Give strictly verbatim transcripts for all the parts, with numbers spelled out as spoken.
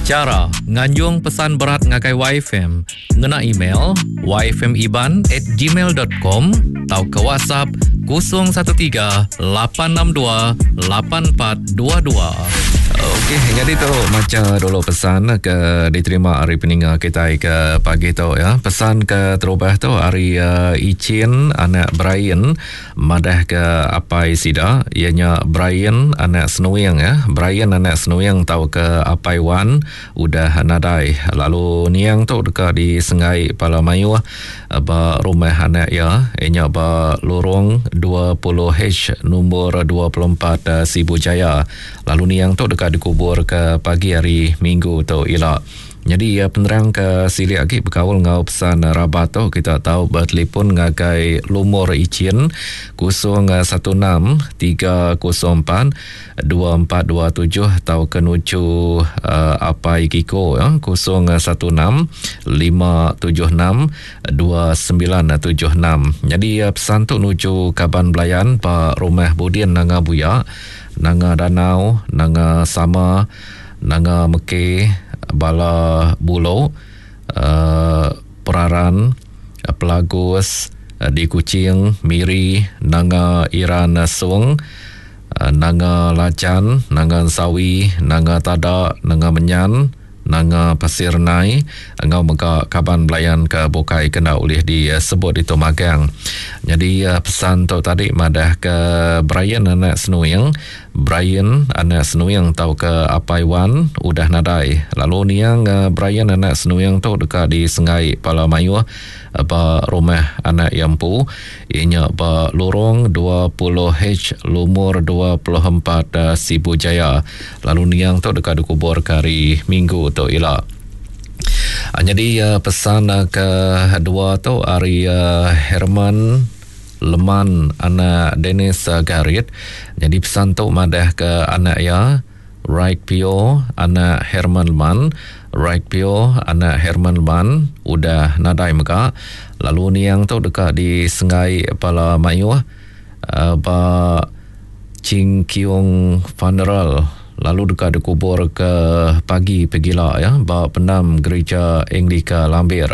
Chara nganjung pesan berat ngagai Y F M ngena email y f m iban at gmail dot com tauka WhatsApp kosong satu tiga lapan enam dua lapan empat dua dua. Okey, jadi tu maca dulu pesan ke diterima hari peninga kita ke pagi tu ya. Pesan ke terubah tu hari uh, Ichin anak Brian madah ke apai sida ianya Brian anak Senuing ya. Brian anak Senuing tau ke apai Wan udah nadai. Lalu niang tu deka di Sengai Pala Mayuh ba rumah anak ya ianya ba lorong dua puluh H nombor dua puluh empat Sibu Jaya. Lalu niang tu deka dikubur ke pagi hari Minggu tu ila. Jadi ya, penerang ke silik lagi berkaul ngau pesan rabat tu kita tahu bertelefon ngagai lumur Ichin kosong satu enam tiga kosong empat dua empat dua tujuh atau ke nuju uh, apai Kiko ya, kosong satu enam lima tujuh enam dua sembilan tujuh enam. Jadi ya, pesan tu nuju kaban belayan Pak Rumah Budin Nanga Buya, Nanga Danau, Nanga Sama, Nanga Meke, Bala Bulo, uh, Peraran, Pelagus, uh, di Kuching, Miri, Nanga Iran Sung, uh, Nanga Lacan, Nanga Sawi, Nanga Tada, Nanga Menyan, Nanga Pasir Nai, engau mega kaban belayan ke bukai kena ulih disebut itu magang. Jadi pesan tu tadi madah ke Brian anak Senuing, Brian anak Senuing tau ke apai Wan udah nadai. Lalu niang Brian anak Senuing tu dekat di Sengai Pala Mayuh ba rumah anak Yampu ianya ba lorong dua puluh H lumur dua puluh empat Sibu Jaya. Lalu niang tu dekat dikubur ke hari Minggu tu ila. Jadi pesan kedua tu hari Herman Leman anak Dennis Garit. Jadi pesan tu madah ke anak ya Right Pio anak Herman Leman, Right Pio anak Herman Leman udah nadai mega. Lalu niang tu dekat di Sengai Pala Mayuh uh, ba Ching Kiong Funeral. Lalu dekat dikubur ke pagi pegila ya ba pendam gereja Anglika Lambir.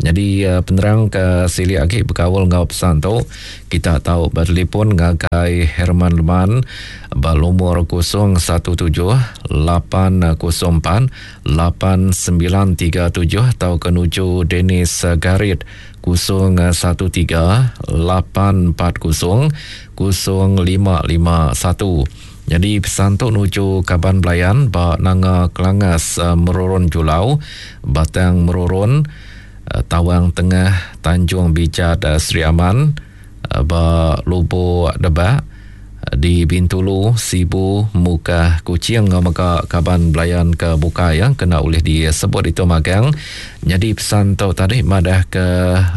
Jadi penerang ke silik lagi berkaul ngau pesan tu kita tahu bertelefon ngagai Herman Leman ba lumur kosong satu tujuh lapan kosong empat lapan sembilan tiga tujuh atau ke nuju Dennis Garit kosong satu tiga lapan empat kosong kosong lima lima satu. Jadi pesan tu nuju kaban belayan ba Nanga Kelangas Merurun Julau, Batang Merurun, Tawang Tengah, Tanjung Bijat, Sri Aman, ba Lubuk Debak, di Bintulu, Sibu, Mukah, Kuching ngau mega kaban belayan ke bukai yang kena ulih disebut itu magang. Jadi pesan tu tadi madah ke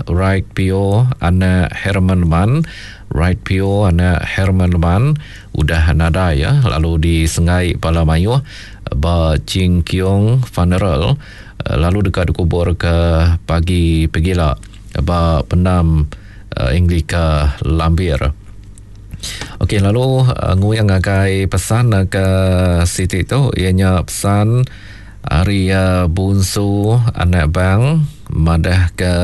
Right Pio anak Herman Leman, Right Pio anak Herman Leman udah nadai ya, lalu di Sengai Pala Mayuh ba Ching Kiong Funeral, lalu dekat dikubur ke pagi pegila ba pendam Anglika Lambir. Okey, lalu uh, nguyang ngagai pesan uh, ke Siti tu ianya pesan hari uh, Bunsu anak bang madah ke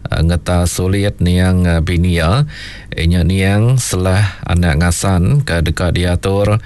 uh, ngeta sulit niang uh, binia ianya niang selah anak ngasan ke dekat diatur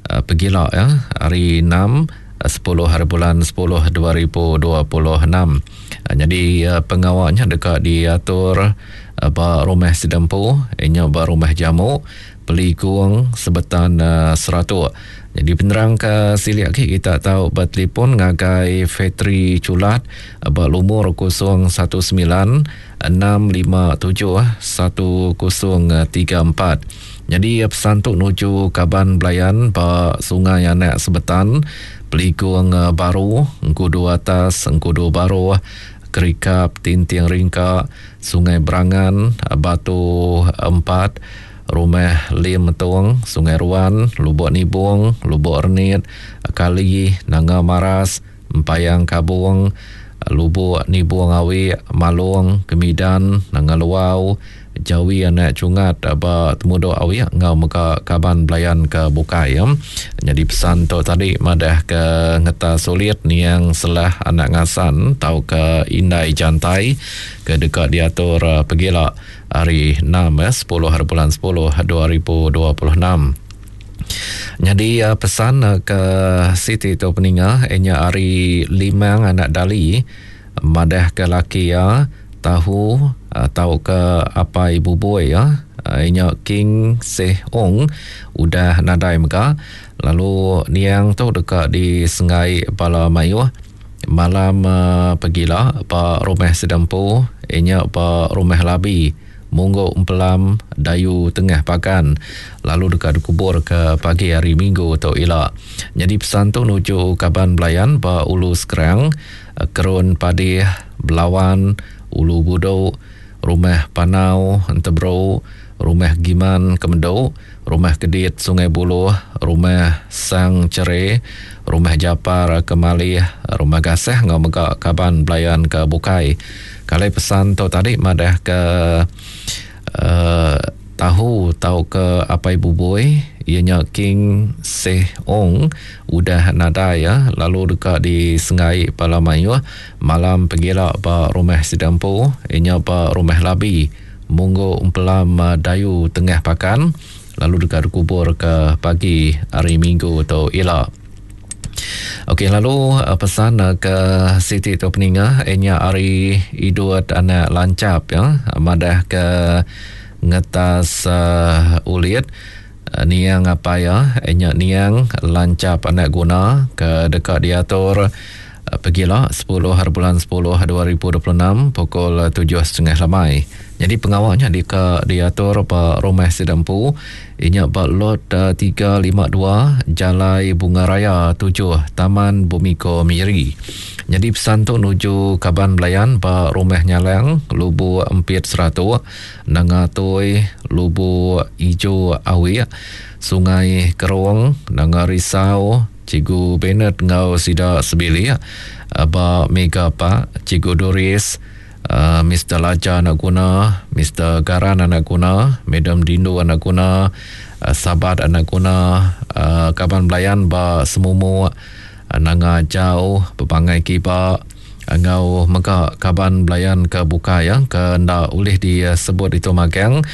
uh, pegila ya hari enam sepuluh hari bulan sepuluh dua ribu dua puluh enam. Jadi pengawalnya dekat diatur ba rumah Sidempu, inya ba rumah Jamu, Peligung, Sebetan Seratuk. Jadi penerang ke silik lagi kita tahu bertelefon ngagai Fetri Culat ba lumur kosong satu sembilan enam lima tujuh satu kosong tiga empat. Jadi pesan tu nuju kaban belayan ba Sungai Anak Sebetan, Peligung Baru, Engkudu Atas, Engkudu Baru, Kerikap, Tinting Ringka, Sungai Berangan, Batu Empat, Rumah Lim Metong, Sungai Ruan, Lubuk Nibung, Lubuk Renit, Kali, Nanga Maras, Empayang Kabung, Lubuk Nibung Awi, Malung, Kemidan, Nanga Luau, Jawi anak Chungat ba Temudok Awik ngau mega kaban belayan ke bukai ya. Jadi pesan tu tadi madah ke ngeta sulit niang selah anak ngasan tau ke indai jantai ke dekat diatur pegila hari enam ya, sepuluh hari bulan sepuluh dua ribu dua puluh enam. Jadi pesan ke Siti tu peninga inya hari Limang anak Dali madah ke laki ya tahu atau ke apai bubui ya inya King Seh Ong udah nadai mega lalu niang tu dekat di Sengai Bala Mayuh malam uh, pegila ba rumah sedempu inya ba rumah Labi Munggu Empelam Dayu Tengah Pakan lalu dekat dikubur ke pagi hari Minggu tu ila. Jadi pesan tu nuju kaban belayan ba Ulu Sekerang, Kerun Padih, Belawan, Ulu Budok, Rumah Panau Entebro, Rumah Giman Kemendok, Rumah Kedit Sungai Buloh, Rumah Sang Cere, Rumah Japar Kemalih, Rumah Gasah ngau mega kaban belayan ke bukai. Kalau pesan tu tadi madah ke uh, tahu tau ke apai bubui ianya King Seh Ong udah nadai ya lalu dekat di Sengai Pala Mayuh malam pegila ba rumah Sidampu ianya ba rumah Labi Munggu Empelam Dayu Tengah Pakan lalu dekat dikubur ke pagi hari Minggu tu ila. Okey, lalu pesan ke Siti tu peninga ianya hari Idut anak Lancap ya madah ke ngetas uh, ulit uh, niang apa ya ianya niang Lancap anak guna ke dekat diatur uh, pegila sepuluh hari bulan sepuluh dua ribu dua puluh enam pukul tujuh setengah lamai. Jadi pengawalnya di ke diatur ba rumah Sidampu inya ba lot uh, tiga lima dua Jalai Bunga Raya tujuh Taman Bumiko Miri. Jadi pesan tu nuju kaban belayan ba rumah Nyalang Lubu Empit Seratuk Nangatoi Lubu Ijo Awik Sungai Kerong Nanga Risau Cikgu Bennett ngau sida sebilik ba Mega Pak Cikgu Doris Uh, Mister Laja anak guna, Mister Garan anak guna, Madam Dindu anak guna, uh, Sabat anak guna, uh, kaban belayan ba Semumu, uh, Nanga Jauh, Pepangai Kiba, ngau mega kaban belayan ke buka ya, ke ndak boleh disebut itu magang.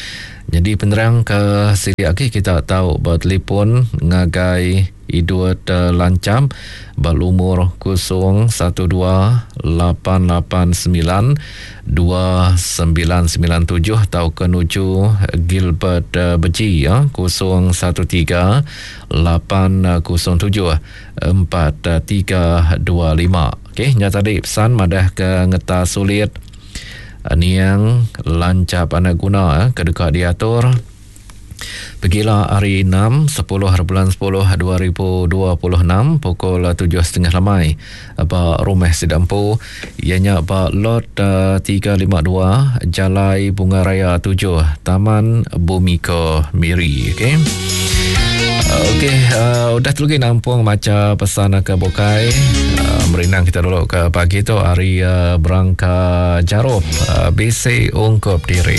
Jadi penerang ke sini lagi kita tahu bertelefon ngagai Idut uh, Lancam berumur kosong satu dua lapan lapan sembilan dua sembilan sembilan tujuh atau ke nuju Gilbert uh, Beji ya kosong satu tiga lapan kosong tujuh empat tiga dua lima. Okey, nya tadi pesan madah ke ngeta sulit niang Lancap anak guna ke dekat diatur Pergilah hari enam, sepuluh hari bulan sepuluh dua ribu dua puluh enam pukul tujuh setengah lamai ba rumah Sidampu ianya ba lot uh, tiga lima dua Jalai Bunga Raya tujuh Taman Bumiko Miri. Okey. Okey, uh, udah terus nampung maca pesan ke bukai. Uh, merinang kita dulu ke pagi tu hari uh, berangka jarup uh, B C ungkup diri.